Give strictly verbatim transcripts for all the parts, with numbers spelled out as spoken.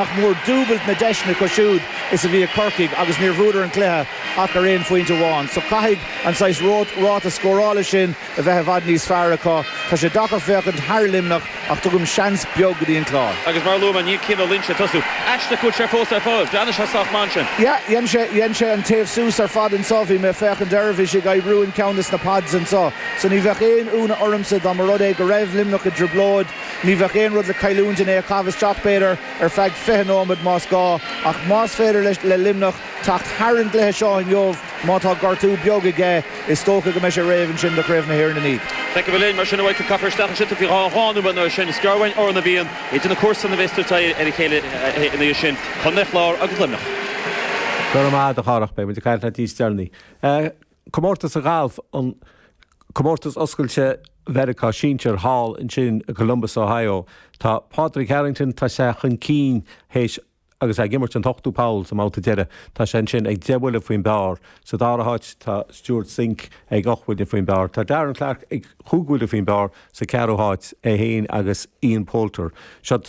Nach mór dúbailt na deiseanna acu siúd is a bhí ag Corcaigh agus níor bhuadar an cluiche ach ar aon phointe amháin. So caithfidh an saghas ráta scórála sin a bheith i bhfad níos fearr acu. Tá sé deacair féachaint thar Luimneach ach tugaim seans beag go dtí an Clár. Agus mar a luaigh mé, níl Cian Ó Loingsigh ag tosú. Aisteach go bhfuil sé fós ar fáil. Bhreathnaigh sé sách maith ansin. Yeah, dhein sé, dhein sé an taobh suas ar fad anso. Bhí mé ag féachaint air, bhí sé ag oibriú in ceann des na pads anso. So ní bheadh aon ionadh ormsa dá mba rud é go raibh Luimneach i dtrioblóid. Ní bheadh aon rud le cailliúint in é a chaitheamh isteach, b'fhéidir, ar feadh fiche nóiméad más gá, ach más féidir le Luimneach teacht thar an gcluiche seo inniu, má tá gortú beag aige, is dócha go mbeidh sé réidh ansin do Chraobh na hÉireann ina dhiaidh. Feicfidh muid linn mar sin a Mhichael, caithfear isteach ansin faoi dhá dhá nóiméad nó sin. Is gearr uainn Órán na bhFiann idir na comharsana a bheas ag tabhairt aghaidh ar a chéile ina dhiaidh sin, Contae an Chláir agus Luimneach. Go raibh maith agat, a Chárthach. Beidh muid ag caint leat níos deireanaí. Comórtas an ghailf, an Comórtas Oscailte Mheiriceá Sinsir thall ansin i Columbus, Ohio. Tá Pádraig Harrington, tá sé chun cinn théis agus é ag imirt an t-ochtú poll sa mbabhta deiridh. Tá sé ansin ag deich mbuille faoin bpar. Sa dara háit tá Stewart Cink ag ocht mbuille faoin bpar. Tá Darren Clarke ag chúig bhuille faoin bpar sa ceathrú háit, é féin agus Ian Poulter. Seo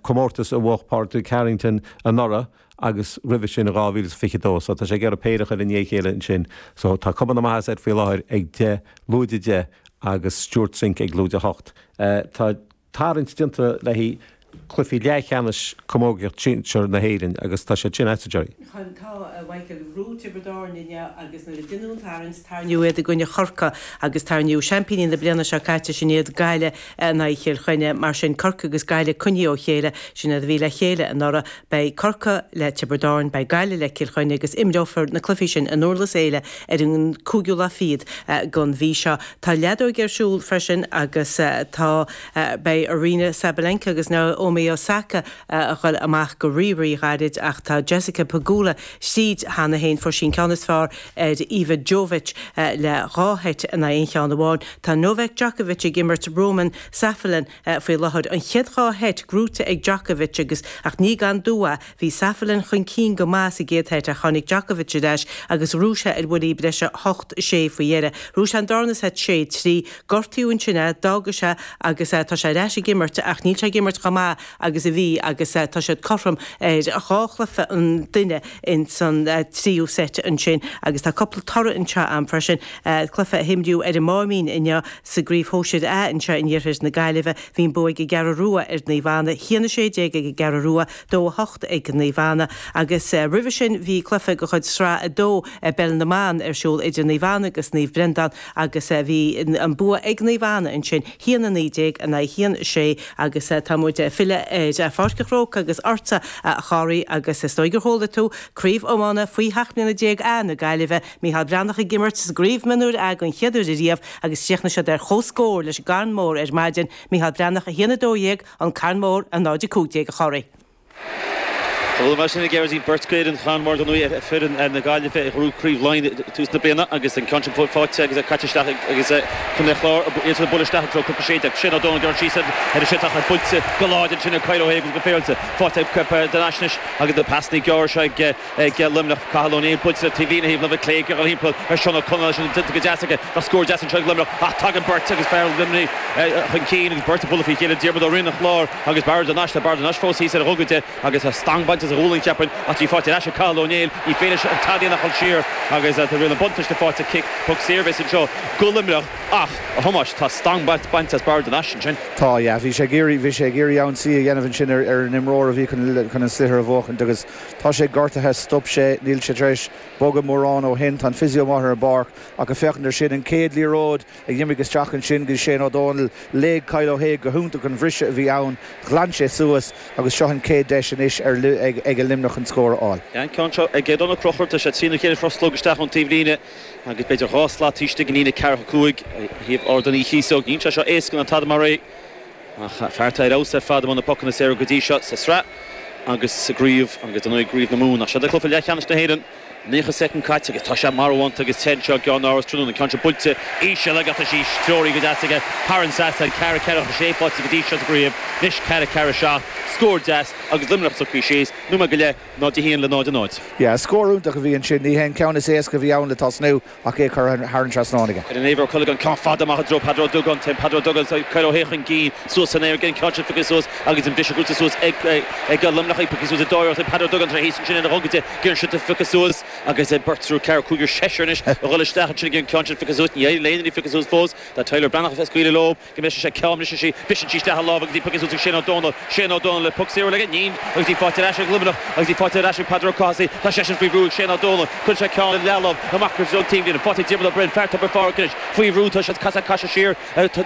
comórtas a bhuaigh Pádraig Harrington anuraidh agus roimhe sin in dhá mhíle is fiche dó. So tá sé ag iarraidh péire a chur i ndiaidh a chéile ansin. So tá cuma na maitheasa air faoi láthair ag deich, lúide deich agus Stewart Cink ag lúide hocht. Tá tarraingt déanta le haghaidh cluichí leathcheannais camógaíocht sinsir na hÉireann agus tá siad sin agat, Gerry. Chun, tá, a Mhichael, bhuaigh Tiobraid Árann inniu agus nuair a deineadh an tarraingt, tarraingíodh iad i gcoinne Chorcaí agus tarraingíodh seaimpíní na bliana seo caite, sin iad Gaillimh in aghaidh Chill Chainnigh. Mar sin, Corcaigh agus Gaillimh coinnithe ó chéile, sin iad a bhí le chéile anuraidh. Beidh Corcaigh le Tiobraid Árann, beidh Gaillimh le Cill Chainnigh agus imreofar na cluichí sin i nDurlas Éile ar an cúigiú lá fichead den mhí seo. Tá leadóg ar siúl freisin agus tá, beidh Aryna Sabalenka agus Naomi Osaka a dhul amach go rí-rí-ghairid ach tá Jessica Pegula tríd cheana féin, fuair sí an ceann is fearr ar Iva Jovic le dhá sheit in aghaidh aon cheann amháin. Tá Novak Djokovic ag imirt Roman Safiullin faoi láthair. An chéad dhá sheit gnóite ag Djokovic agus ach ní gan dua. Bhí Safiullin chun cinn go maith sa gcéad sheit ach tháinig Djokovic ar ais agus ghnóthaigh sé ar bhuillí breise hocht sé faoi dheireadh. Ghnóthaigh sé an darna seit sé trí. Gortaíodh ansin é, d'fhága sé agus tá sé ar ais ag imirt ach níl sé ag imirt chomh maith agus a bhí agus tá siad cothrom ar dhá chluiche an duine ins an tríú seit ansin agus tá cúpla toradh anseo a'm freisin. Cluiche a himríodh ar an Máimín inniu sa gCraobh Shóisir A anseo in iarthar na Gaillimhe, bhí an bua ag an gCeathrú Rua ar Naomh Anna, a haon a sé déag ag an gCeathrú Rua, dó a hocht ag Naomh Anna agus roimhe sin bhí cluiche de chuid Sraith a dó i bPeil na mBan ar siúl idir Naomh Anna agus Naomh Breandán agus bhí an bua ag Naomh Anna ansin, a haon a naoi déag in aghaidh a haon a sé agus tá muid ag filleadh ar Pháirc an Chrócaigh agus ortsa a Chárthaigh agus is dóigh gur chuala tú Craobh Iomána faoi sheacht mbliana déag A na Gaillimhe, Mícheál Breathnach ag imirt sa gCraobh Mionúir A den chéad uair ariamh agus chríochnaigh siad ar chomhscór leis an gCarn Mór ar maidin, Mícheál Breathnach a haon a dó dhéag, An Carn Mór a náid a cúig déag a Chárthaigh. Bhuel, mar sin a Ghearóidín, beirt d'fhoireann Charn Mhóir dar ndóigh, foireann na Gaillimhe a ghnóthaigh Craobh Laighean ag tús na bliana agus an ceann sin faighte agus é caite isteach agus Contae an Chláir iad ag bualadh isteach i dtreo cúig a sé déag. Shane Ó Dónaill gearrtha síos ar an seitheach ach buailte go láidir ansin ag Kyle Ó hAodha agus go féaráilte faighte ag De Naisnis agus na pasanna gearra seo ag Luimneach. Cathal Ó Néill buailte le taobhlíne thaobh láimhe clé ag dul thimpeall ar Seán Ó Conaola sin déanta go deas aige. Tá scór deas anseo ag Luimneach ach tagann beirt agus fear Luimnigh chun cinn agus beirt ag bualadh faoi chéile, Diarmuid Ó Riain an Chláir agus Barra de Naiste. Barra de Naiste fós thíos ar a ghogaide agus tá stangadh bainte as a ghualainn, cheapfainn, ach tá í faighte ar ais ag Cathal Ó Néill. Ní féidir leis an tada a dhéanamh ach dul siar agus tá riail an bhuntáiste faighte, cic, poc saor a bheas anseo go Luimneach ach, a Thomáis, tá stangadh bainte as Barra de Naiste ansin. Tá, yeah. Bhí sé ag iarraidh, bhí sé ag iarraidh ionsaí a dhéanamh ansin ar, ar an imreoir a bhí chun, chun an sliotar a bhuachaint agus tá sé gortaithe, stop sé, níl sé tar éis bogadh mórán ó shin. Tá an physio amuigh ar an bpáirc ach ag féachaint ar sin, an chéad liathróid a d'imigh isteach ansin go dtí Shane Ó Dónaill, léigh Kyle Ó hAodha go hiontach an bhriseadh a bhí ann, ghlan sé suas agus seo an chéad deis anois ar ag Luimneach an scór a fháil. An ceann seo ag Donal Conchúir, tá sé trína chéile rothlóg isteach ón taobhlíne agus b'fhéidir dhá slat taobh istigh den líne ceathracha cúig ó thaobh Ardán Uí Chíosóg. Níl sé seo éasca ná tada mar é ach fear atá ar fheabhas ar fad i mbun na pocanna saora go dtí seo sa sraith agus sa gcraobh agus dar ndóigh i gcraobh na Mumhan. Ach seo é cluiche leathcheannais na hÉireann. Naocha soicind caite agus tá sé marbhánta agus te anseo i gCeann Áras tráthnóna. Ceann seo buailte íseal ach tá sí treoraithe go deas aige thar an trasnán ceathair ceathair a sé faighte go dtí seo sa gcraobh anois ceathair ceathair a seacht scór deas agus Luimneach socraithe síos nóiméad go leith náid a haon le náid a náid. Yeah, scór iontach a bhí ansin ní hé an ceann is éasca a bhí ann le tosnú ach é curtha thar an trasnán aige. Ar an Éibhear Ó Cuileagáin ceann fada amach i dtreo Peadar Ó Dubhgáin téann Peadar Ó Dubhgáin Kyle Ó hAodha chun cinn suas san aer an ceann sin pioctha suas agus an briseadh gnóthaithe suas ag ag Luimneach pioctha suas i dtóir Peadar Ó Dubhgáin tar éis ansin ina dhongaide gur sin pioctha suas agus beirt triúr ceathrar cúigear seisear anois a dhul isteach ansin an ceann sin pioctha suas ní éirigh le haon duine pioctha suas fós tá Tyler Breathnach ag scaoileadh leo go mbeidh sé ceann sí briseann sí isteach a lámh agus í pioctha suas ag Shane Ó Dónaill Shane Ó Dónaill le poc saor aige níl agus í faighte ar ais ag Luimneach agus í faighte ar ais ag Peadar Ó Cathasaigh tá seisean faoi bhrú ag Shane Ó Dónaill cuireann sé ceann leathlámh amach go an taobhlíne faighte Diarmuid Ó Broin fear Tobar Phádraig anois faoi bhrú tá sé casadh casadh siar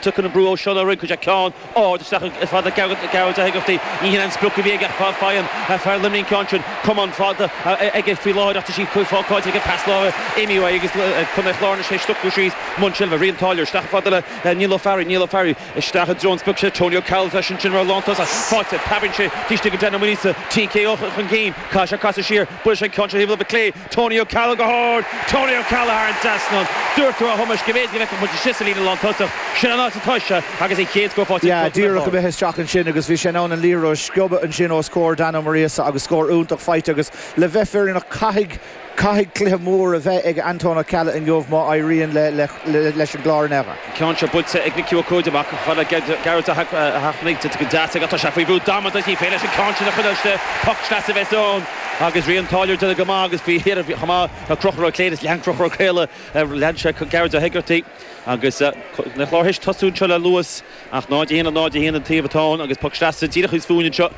tugann an brú ó Seán Ó Rinn chuir sé ceann ard isteach fada Gearóid Ó hÉigeartaigh ní hin an sprioc a bhí aige faigheann fear Luimnigh an ceann sin camán fada aige faoi láthair ach tá sí fágáilte aige pas láimhe imithe uaidh agus Contae Chláir sé stucú síos mbun seilbhe Rian Táilliúir isteach fada le Neil Ó Fearraigh Neil Ó Fearraigh isteach i dtreo an sprioc sé Tony Ó Ceallaigh leis ansin mar lántosach faighte preabann sé taobh istigh go Dan Ó Maonaosa TK ó chun cinn caith sé casadh siar buail sé ceann sé thaobh clé Tony Ó Ceallaigh go hard Tony Ó Ceallaigh thar an trasnán dúirt tú a Thomáis go mb'fhéidir go mbeadh muid síos sa líne lántosach sin an áit atá sé agus an chéad scór faighte Yeah, díreach imithe isteach ansin agus bhí sé in ann an liathróid a sciobadh ansin os comhair Dan Ó Muiríosa agus scór iontach faighte agus le bheith fírinneach caithfidh caithfidh cluiche mór a bheith ag Anton Ó Ceallaigh inniu má éiríonn le, le, le, leis an gClár in aon Ceann seo buailte ag Nicky Ó Cuaid amach fada Gearóid a hachnaigh go deas ag tá sé faoi bhrú damanta í féin leis an ceann sin a chuile poc sleasa bheith ann agus Rian Táilliúir de go maith agus bhí chomh maith Conchúr Ó Cléirigh lean Conchúr Ó Cléirigh lean sé Gearóid Ó hÉigeartaigh agus na Cláir théis tosú anseo le luas ach náid a haon náid a haon an taobh atá ann agus poc sleasa díreach thíos fúinn anseo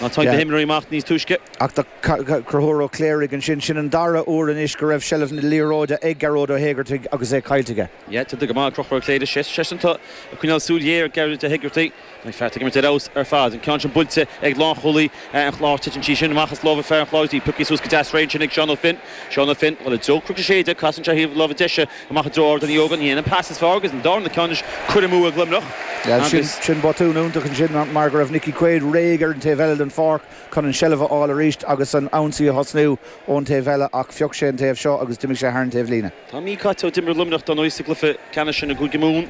Ná tá na himreoirí amach níos túisce. Ach tá Conchúr Ó Cléirigh ansin sin an dara huair anois go raibh seilbh na liathróide ag Gearóid Ó hÉigeartaigh agus é caillte aige. Yeah, tá go maith Conchúr Ó Cléirigh sé seisean tá coinneáil súil ghéar Gearóid Ó hÉigeartaigh An fear ag imirt ar fheabhas ar fad an ceann sin buailte ag lánchúlaí an Chláir titeann sí sin amach as lámha fear an Chláir í pioctha suas go deas réidh sin ag Seán Ó Finn Seán Ó Finn i dtreo Chnoc na Séide casann sé thaobh láimhe deise amach i dtreo Ard an Eogan ní an pas is fearr agus an darna ceann curtha amú ag Luimneach. sin sin botún iontach ansin mar go raibh Nicky Quaid réidh ar an taobh eile den pháirc chun an seilbh a fháil arís agus an ionsaí a thosnú ón taobh eile ach phioc sé an taobh seo agus d'imigh sé thar an taobhlíne. Tá mí caite ó d'imir Luimneach don sa gcluiche ceannais sin i gCúige Mumhan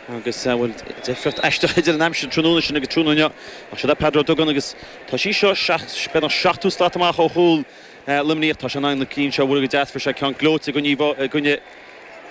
agus bhfuil difríocht aisteach idir an aimsir tráthnóna sin agus tráthnóna ach seo Peadar Ó Dubhgáin agus tá sí seo beagnach seachtó slat amach ó chúl Luimnigh tá sé an na cinn seo bhfuil go deas sé ceann gleoite gcoinne Bhaile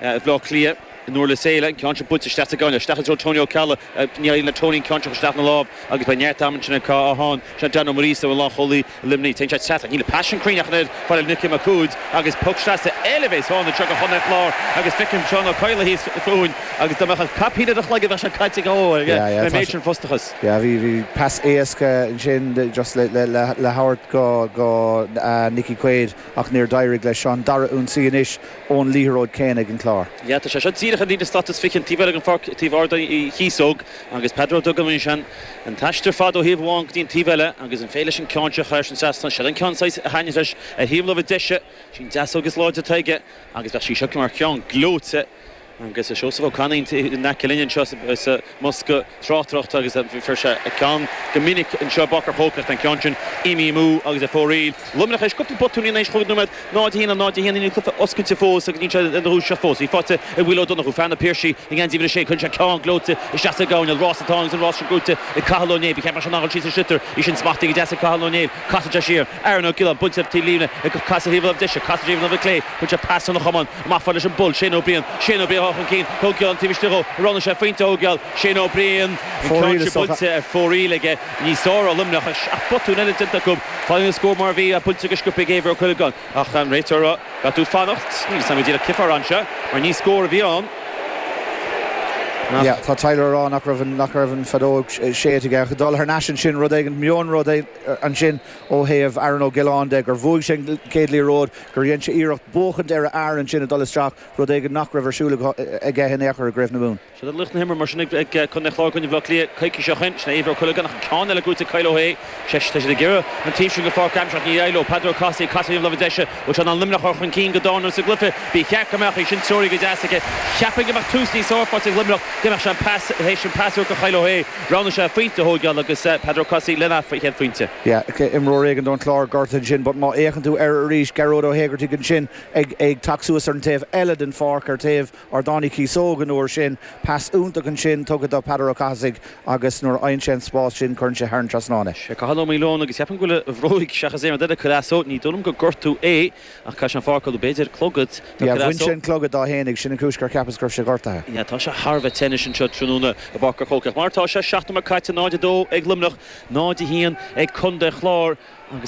Átha Cliath in Durlas Éile ceann sin buailte isteach sa gcoinne isteach Tony Ó Ceallaigh ní le Tony ceann isteach na lámh agus ba neart am sin cá áán se Dan Ó Muiríosa an lánchúlaí Luimnigh Téann sé teach níl pas cruinn ach fáil Nicky Mac Cumhaid agus poc sleasa eile bhéas fána seo go Chontae Chláir agus feicim Seán Ó Cadhla thíos fúinn agus dá mbeadh caipín ar a chloigeann bheadh sé caite go le méid sin frustrachas. Yeah, bhí bhí pas éasca ansin just le le le le thabhairt go go uh, Nicky Quaid ach níor d'éirigh leis an dara ionsaí anois ón liathróid céanna ag an Clár. Ja, tá sé seo díreach an líne slat is fiche taobh eile an pháirc taobh Ard Uí Chíosóg agus Peadar Ó Dubhgáin sin an t-aistear fada ó thaobh amháin go dtí an taobh eile agus an féile sin ceann seo chuir sin trasna sé an ceann a thaitníonn leis a thaobh láimhe deise sin deas agus láidir tuige agus bheadh sí seo mar cheann gleoite agus Seosamh Ó Canainn in aice linn seo sa mbosca tráchtaireachta agus bhí sé a ceann go minic anseo b'fhéidir chócacht an ceann sin imithe amú agus a fóiríl. Luimneach éis cúpla botún éis chúig nóiméad náid a haon náid a haon ní cluiche oscailte fós agus ní sé an rúiseach fós. Í faighte ag Will Ó Donnchú fear na Piarsaigh i ngeansaí sé chun sé ceann gleoite isteach sa gcoirnéal rás atá agus an rás sin gnóthaithe ag Cathal Ó Néill. Bhí ceap sin an sí sa sliotar í sin smachtaí go deas ag Cathal Ó Néill casann sé siar Aaron Ó Giolláin buailte taobh líne ag casadh thaobh deise casadh thaobh clé chun sé pas an chamán amach leis an bull Shane Ó Briain Shane Ó Briain chun cinn Ó Giolláin taobh istigh ó roghnaigh sé pointe Ó Giolláin Shane Ó Briain buailte ar fóraoil aige ní sár Luimneach ach botún eile déanta acu fáil an scór mar bhí a buailte go sciobtha ag Éibhear Ó Cuileagáin ach an réiteoir ga tú fanacht ní sam díreach cifear anseo mar ní scór a bhí ann. Yeah, tá Tyler rá nach raibh nach raibh an feadóg séidte aige dul thar n-ais sin rud éigin mion rud ansin ó thaobh Aaron Ó Giolláin de gur bhuaigh sé céad liathróid gur dhein sé iarracht buachaint ar a fhear ansin a dul isteach rud éigin nach raibh ar siúl aige in aon chor i gCraobh na Mumhan. Se lucht na himeartha mar sin ag Contae Chláir coinne Bhaile Átha Cliath coicís ó shin sin Éibhear Ó Cuileagáin ach ceann eile gnóthaithe Kyle Ó hAodha sé tá siad ag iarraidh an taobh sin go pháirc aimseach ní éiló Peadar Ó Cathasaigh casadh láimhe deise ó se an Luimneach chun cinn go dána sa gcluiche bhí cheart go mbeadh sin treoraithe go deas aige cheapfainn go mbeadh tús níos fearr ag Luimneach Dá mbeadh sé an pas théis an pas a chailleadh é roghnaigh sé pointe a thógáil agus Peadar Ó Cathasaigh lena chéad phointe. Yeah, imreoir éigin don Chlár gortaithe ansin, but má fhéachann tú air arís Gearóid Ó hÉigeartaigh ansin ag ag teacht suas ar an taobh eile den pháirc ar taobh Ardán Uí Chíosóg an uair sin, pas iontach ansin tugtha do Peadar Ó Cathasaigh agus nuair a fhaigheann sé an spás sin cuireann sé thar an trasnán é. Sé Cathal Ó Maoileoin agus ceapaim go bhfuil a bhróig seachas aon rud eile Calasso ní dóigh liom gur gortú é ach caithfidh sé an pháirc b'fhéidir clogad Yeah, bhain sé an clogad dá fhéinig sin an chúis gur cheapas go raibh sé gortaithe. Yeah, tá sé thar a bheith te anseo tráthnóna i bPáirc an Chrócaigh. Mar tá sé seacht nóiméad caite náid a dó ag Luimneach náid a haon ag Contae Chláir agus